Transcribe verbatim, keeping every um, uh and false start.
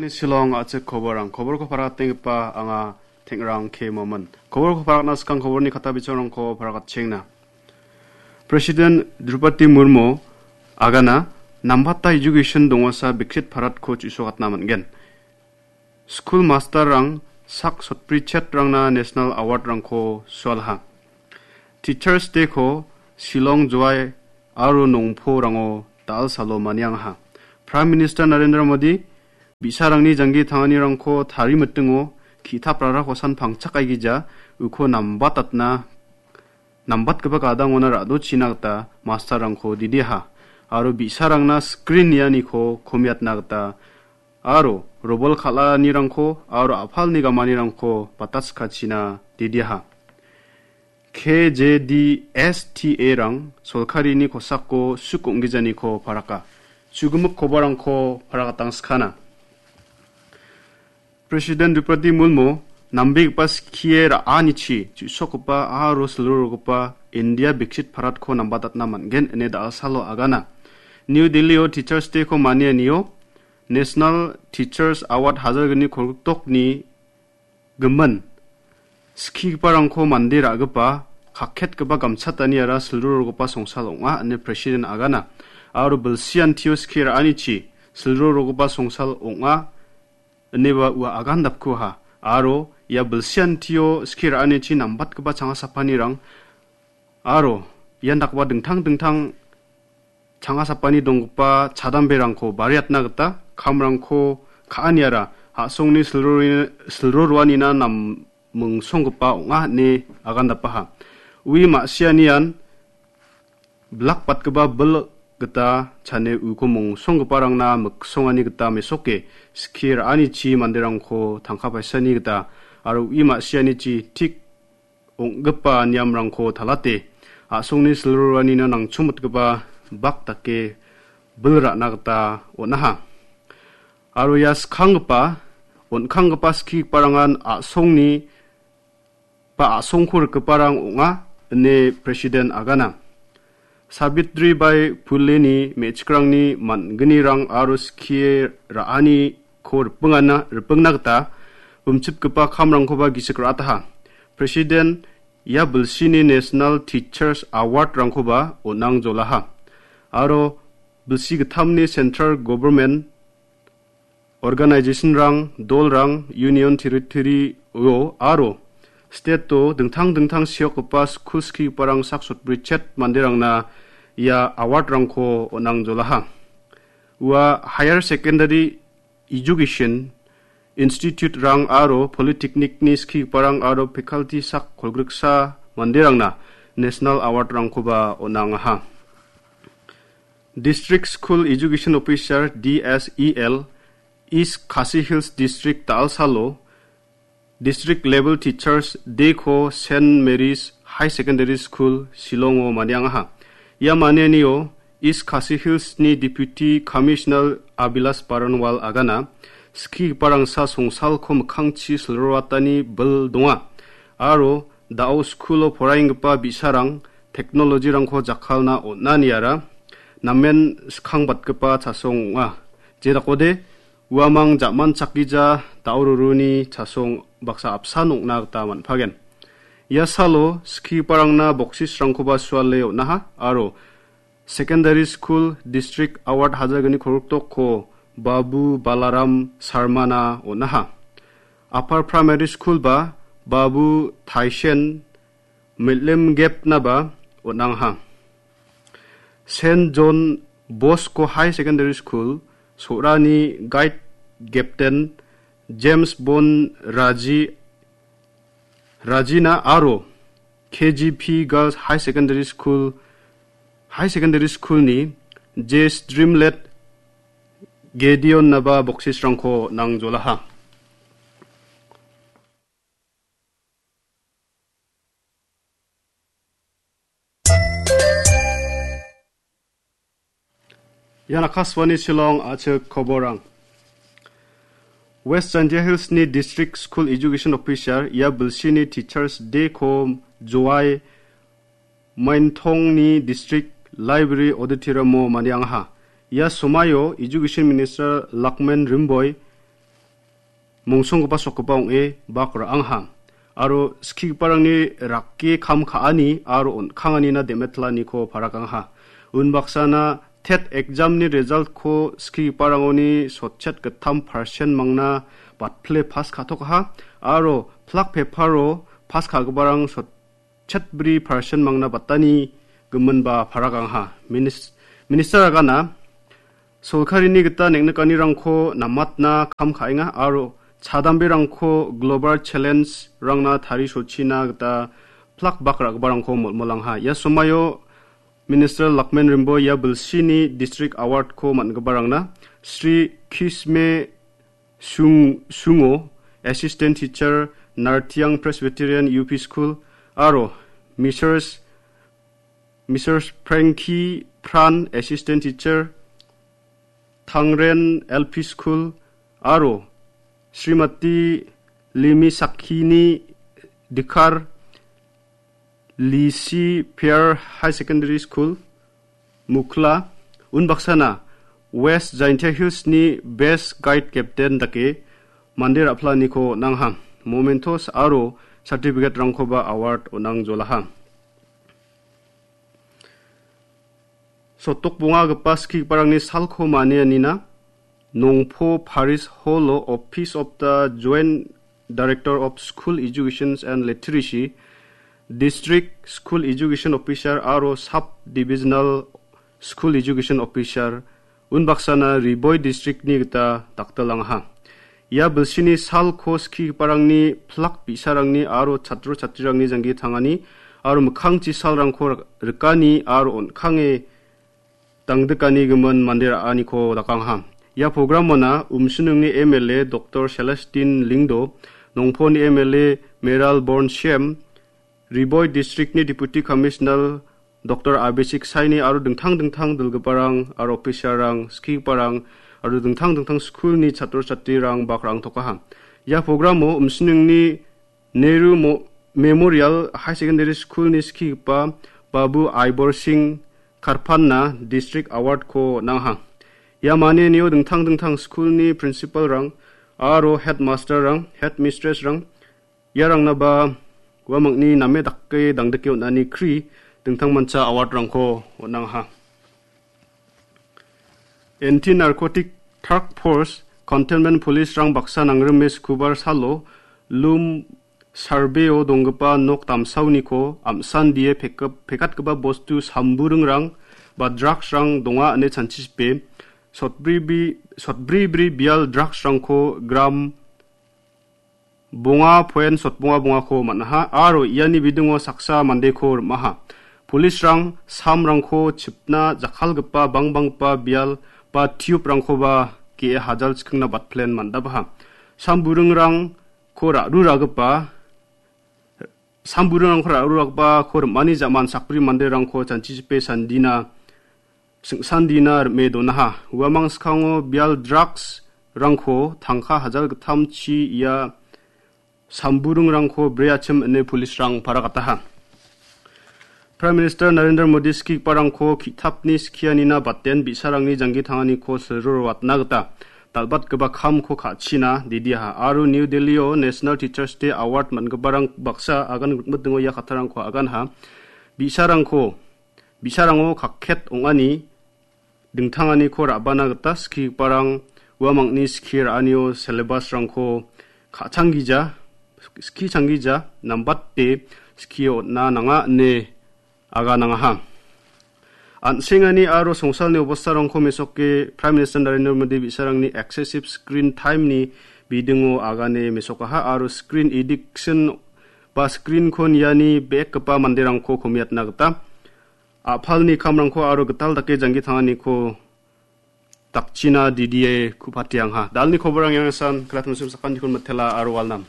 Shillong a·chik koborang. Koborko parakatenggipa anga Tengrang K Momin. Koborko parakatna skang koborni kata bichongrangko parakatchengna. President Draupadi Murmu agana nambata education dongasa Viksit Bharatko chu·sokatna man·gen. Skul masterrang sak sotbrichet rangna National Award-rangko sualaha. Teachers Day-ko Shillong, Jowai aro Nongporango dal·salo maniangaha. Prime Minister Narendra Modi bi·sarangni janggi tanganirangko tarimitingo ki·taprarakosan pangchakaigija uko nambatatna, nambatgipa gadangona ra·dochina gita masterrangko didiaha. Aro bi·sarangna screen nianiko komiatna gita aro robol kal·anirangko aro a·palni gamanirangko bataskachina didiaha. K J D S T A-rang solkarini kosako suk ong·gijaniko paraka. Chugimik kobarangko parakatangskana. President Draupadi Murmu nambegipa skie ra·anichi chu·sokgipa aro silrorogipa India Viksit Bharatko nambatatna man·gen ine dal·salo agana. New Delhi-o Teachers Day-ko manianio National Teachers Award hajalgni kolgriktokni gimin skigiparangko mande ra·gipa kaketgipa gamchataniara silrorogipa songsal ong·a ine President agana. Aro bilsiantio skie ra·anichi silrorogipa songsal ong·a ineba ua agandapkuha. Aro ia bilsiantio skie ra·anichi nambatgipa changa sapanirang aro ian dakgipa dingtang dingtang changa sapani donggipa chadamberangko bariatna gita kamrangko ka·aniara a·songni silrori-, silro roanina nammingsonggipa ong·a ine agandapaha. Ui ma·sianian blak batgipa bil gita chane uko mongsonggiparangna miksongani gita mesoke skie ra·anichi manderangko tangka paisani gita aro ui ma·sianichi tik ong·gipa niamrangko talate a·songni silroranina nangchongmitgipa bak dake bil ra·na gita on·aha. Aro ia skanggipa, on·kanggipa skigiparangan a·songni ba a·songko rikgiparang ong·a, ine President agana. Savitri Bai Phuleni me·chikrangni man·gnirang aro skie ra·aniko ripingana, ripingna gita bimchipgipa kamrangkoba gisik ra·ataha. President ia bilsini National Teachers Award-rangkoba on·angjolaha. Aro bilsi gittamni Central Government organization-rang, dolrang, union territory-o aro state-o dingtang dingtang seokgipa skul skigiparang sak sotbrichet manderangna ia award-rangko on·angjolaha. Ua higher secondary education institute-rang aro polytechnic-ni skigiparang aro faculty sak kolgriksa manderangna National Award-rangkoba on·angaha. District School Education Officer, D S E L, East Khasi Hills District Dalsalo District Level Teachers Day-ko Saint Mary's High Secondary School, Shillongo maniangaha. Ia manianio East Khasi Hills-ni Deputy Commissioner Abhilash Baranwal agana skigiparangsa songsalko mikkangchi silroatani bil donga. Aro da·o skulo poraienggipa bi·sarang technology-rangko jakkalna on·aniara namen skangbatgipa chasong ong·a. Jedakode uamang ja·manchakgija da·o ruruni chasong baksa apsan ong·na gita man·pagen. Ia salo skigiparangna boksisrangkoba suale on·aha aro Secondary School District Award hajalgni kolgriktokko Babu Balaram Sharmana on·aha. Upper Primary School ba Babu Taishen Milim Gepnaba on·angaha. Saint John Bosco High Secondary School, Sorani Guide Captain James Bon Raji, Rajina aro K G P Girls High Secondary School, High Secondary School-ni J Streamlet Gedeon-naba boksisrangko nangjolaha. Ian Akashvani Shillong a·chik koborang. West Jaintia Hills-ni District School Education Officer ia bilsini Teachers Day-ko Jowai Maintongni District Library Auditorium-o maniangaha. Ia somaio Education Minister Lakmen Rimboi mongsonggipa sokgipa ong·e bak ra·angha. Aro skigiparangni rake kam ka·ani aro on·kanganina dem·etlaniko parakangha. Unbaksana tet examni resultko skigiparangoni sotchet gittam percent mangna batpile pas ka·tokaha aro plak peparo pas ka·giparang sotchet bri percent mangna batani giminba parakangha. Minis-, Minister agana solkarini gita neng·nikanirangko namatna kam ka·enga aro chadamberangko global challenge-rangna tarisochina gita plak bak ra·giparangko molmolangha. Ia somaio Minister Lakmen Rimbo ia bilsini District Award-ko man·giparangna Sri Kisme Sung-, Sungo, Assistant Teacher, Nartiang Presbyterian U P School, aro Mrs., Mrs Frankie Pran, Assistant Teacher, Tangren L P School, aro Srimati Limi Sakhini Dikar, Lisi Peer High Secondary School, Mukla, unbaksana West Jaintia Hills-ni Best Guide Captain dake mande ra·planiko on·angha. Mementos aro certificate-rangkoba award on·angjolaha. Sotdok bongagipa skigiparangni salko manianina Nongpo Parish Hall-o Office of the Joint Director of School Education and Literacy, District School Education Officer aro Sub Divisional School Education Officer, unbaksana Riboi District-ni gita daktilangaha. Ia bilsini salko skigiparangni plak bi·sarangni aro chatro chatrirangni janggi tangani aro mikkangchi salrangko rik-, rikani aro on·kange dangdikani gimin mande ra·aniko dakangaha. Ia programona Umsiningni M L A Doctor Celestine Lingdo, Nongponi M L A Meral Born Shem, Riboi District-ni Deputy Commissioner Doctor Abhishek Saini aro dingtang dingtang dilgiparang aro officer-rang, skigiparang aro dingtang dingtang school-ni chatro chatrirang bak ra·angtokaha. Ia programo Umsiningni Nehru Mo-, Memorial High Secondary School-ni skigipa Babu Aibor Singh Karpanna District Award-ko on·angaha. Ia manianio dingtang dingtang school-ni principal-rang aro headmaster-rang, headmistress-rang, iarangna ba uamangni name dake dangdike on·ani kri dingtangmancha award-rangko on·angaha. Anti-Narcotic Task Force Containment Police-rang baksa nangrime Sukubar salo Lum Survey-o donggipa nok damsaoniko am·sandie pekgip-, pekatgipa bostu samburingrang ba drugs-rang donga ine chanchichipe sotbri bi-, sotbri bri bial drugs-rangko gram bonga poen sotbonga bongako man·aha aro iani bidingo saksa mandeko rim·aha. Police-rang samrangko chipna jakkalgipa bangbanggipa bial ba tube-rangkoba ge·e hajal chikingna batplen man·dabaha. Samburingrangko ra·ruragipa, samburingrangko ra·ruragipako rim·ani ja·man sakbri manderangko chanchichipe sandina sing·sandina rim·e donaha. Uamang skango bial drugs-rangko tangka hajal gittamchi ia samburingrangko breachim ine police-rang paragataha. Prime Minister Narendra Modi skigiparangko ki·tapni skianina baten bi·sarangni janggi tanganiko silroro watna gita dal·batgipa kamko ka·china didiaha aro New Delhi-o National Teachers Day Award man·giparang baksa agan gitmitingo ia kattarangko aganha. Bi·sarangko Bi·sarango kakket ong·ani dingtanganiko ra·bana gita skigiparang uamangni skie ra·anio syllabus-rangko ka·changgija, ski changgija, nambate skie on·a nanga ine aganangaha. An·sengani aro songsalni obostarangko mesoke Prime Minister Narendra Modi bi·sarangni excessive screen time-ni bidingo agane mesokaha aro screen addiction ba screen-ko niani bek gipa manderangko komiatna gita a·palni kamrangko aro gital dake janggi tanganiko dakchina didie ku·patiangha. Dalni koborang iangasan, kalatam sum sakantikon matela aro walnam.